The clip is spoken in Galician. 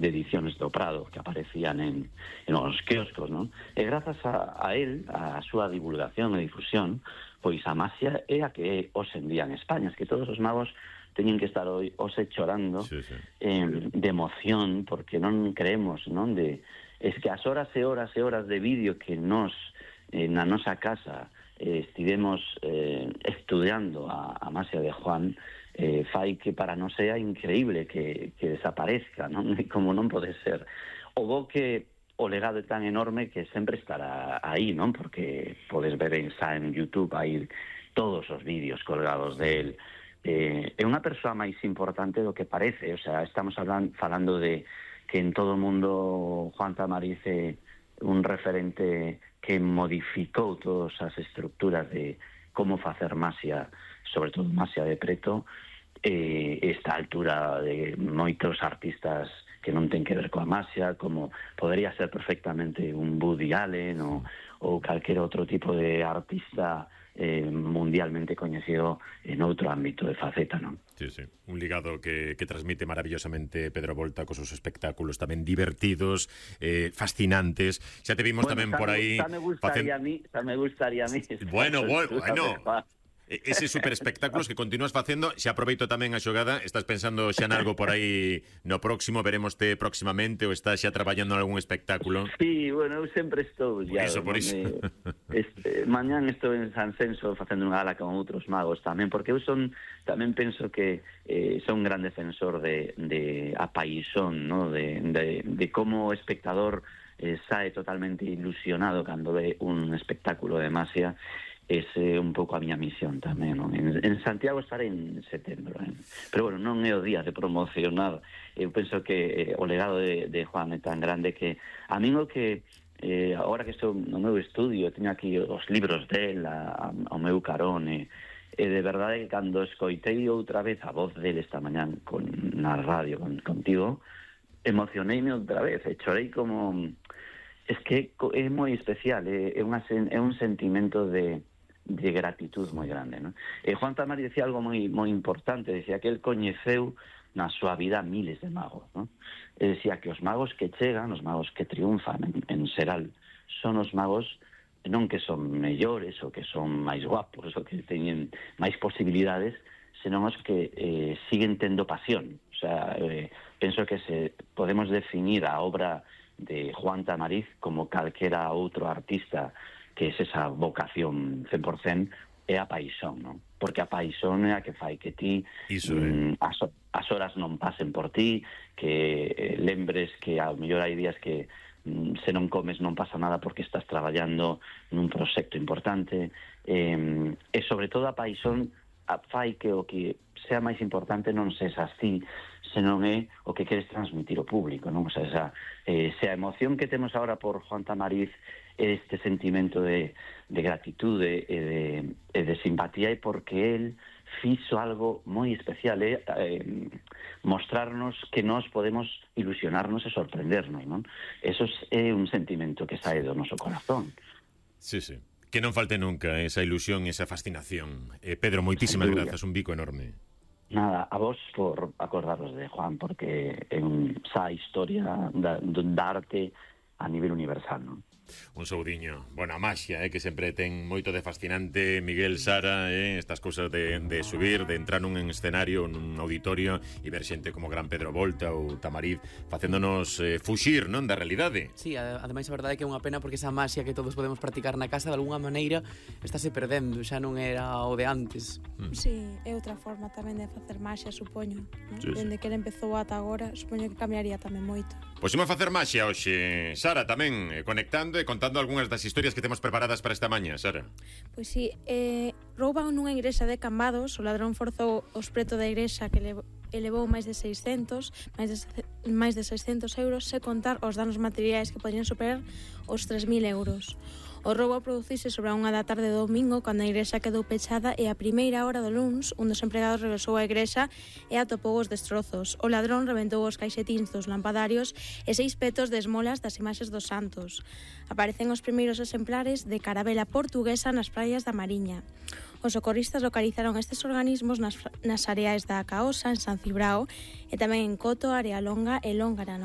ediciones do Prado que aparecían en os quioscos, non? E grazas a él, a súa divulgación e difusión, pois a Masia é a que hoxe en día en España, es que todos os magos teñen que estar hoxe chorando de emoción, porque non creemos, non? Es que as horas e horas e horas de vídeo que nos na nosa casa estivemos estudiando a Masia de Juan, fai que para nós sea increíble que desaparezca, non? E como non pode ser. O bo que o legado é tan enorme que sempre estará aí, non? Porque podes ver en YouTube aí todos os vídeos colgados del. É unha persoa máis importante do que parece, o sea, estamos falando de que en todo o mundo Juan Tamariz é un referente que modificou todas as estructuras de como facer Masia, sobre todo Masia de preto, esta altura de moitos artistas que non ten que ver coa Masia, como podría ser perfectamente un Woody Allen ou calquer outro tipo de artista mundialmente coñecido en outro ámbito de faceta, non? Sí, sí, un ligado que transmite maravillosamente Pedro Volta cos seus espectáculos tamén divertidos, fascinantes. Xa te vimos tamén por aí. Xa me gustaría a mí. Bueno. Ese super espectáculos que continúas facendo. Xa aproveito tamén a xogada. Estás pensando xa en algo por aí no próximo? Veremoste próximamente ou estás xa traballando en algún espectáculo? Sí, bueno, eu sempre estou por iso. Mañán estou en San Censo facendo unha gala con outros magos tamén, porque eu tamén penso que son un gran defensor de a paixón, ¿no? de como o espectador sae totalmente ilusionado cando ve un espectáculo de Masia. Ese é un pouco a miña misión tamén, non? En Santiago estaré en setembro, pero bueno, non é o día de promocionar. Eu penso que o legado de Juan é tan grande que a min o que agora que estou no meu estudio, teño aquí os libros del ao meu carón, e de verdade que cando escoitei outra vez a voz del esta mañán na radio contigo, emocioneime outra vez, e chorei como... Es que é moi especial, é un sentimento de gratitud moi grande, non? Juan Tamariz decía algo moi importante, decía que el coñeceu na súa vida miles de magos, non? Decía que os magos que chegan, os magos que triunfan en Seral, son os magos non que son mellores ou que son máis guapos ou que teñen máis posibilidades, senón os que siguen tendo pasión. O sea, penso que se podemos definir a obra de Juan Tamariz como calquera outro artista, que é esa vocación 100%, é a paixón, non? Porque a paixón é a que fai que ti as horas non pasen por ti, que lembres que ao mellor hai días que se non comes non pasa nada porque estás traballando nun proxecto importante, e sobre todo a paixón fai que o que sea máis importante non sesas ti, senón é o que queres transmitir ao público, non? O sea, se a emoción que temos agora por Juan Tamariz é este sentimento de gratitude e de simpatía, é porque él fixo algo moi especial, mostrarnos que nós podemos ilusionarnos e sorprendernos, non? Eso é un sentimento que sae do noso corazón. Sí, sí. Que non falte nunca esa ilusión, esa fascinación. Pedro, moitísimas grazas, un bico enorme. Nada, a vos por acordaros de Juan, porque é esa historia da arte a nivel universal, non? Un saudiño. Bueno, a Masia, que sempre ten moito de fascinante. Miguel, Sara, estas cousas de subir, de entrar nun escenario, nun auditorio e ver xente como Gran Pedro Volta ou Tamariz facéndonos fuxir, non, da realidade. Sí, ademais a verdade é que é unha pena porque esa Masia que todos podemos practicar na casa de alguna maneira estáse perdendo, xa non era o de antes. Sí, é outra forma tamén de facer Masia, supoño, non? Sí, Dende que ele empezou ata agora, supoño que cambiaría tamén moito. Pois imos facer Masia hoxe, Sara, tamén conectando e contando algunhas das historias que temos preparadas para esta maña, Sara. Pois sí, rouban nunha igrexa de Cambados, o ladrón forzou os preto da igrexa que elevou máis de 600 euros, se contar os danos materiais que podrían superar os 3.000 euros. O roubo produciuse sobre a 1 da tarde do domingo, cando a igrexa quedou pechada, e a primeira hora do luns, un dos empregados regresou á igrexa e atopou os destrozos. O ladrón rebentou os caixetíns dos lampadarios e 6 petos de esmolas das imaxes dos santos. Aparecen os primeiros exemplares de carabela portuguesa nas praias da Mariña. Os socorristas localizaron estes organismos nas areais da Caosa, en San Cibrao, e tamén en Coto, Area Longa e Lóngara, no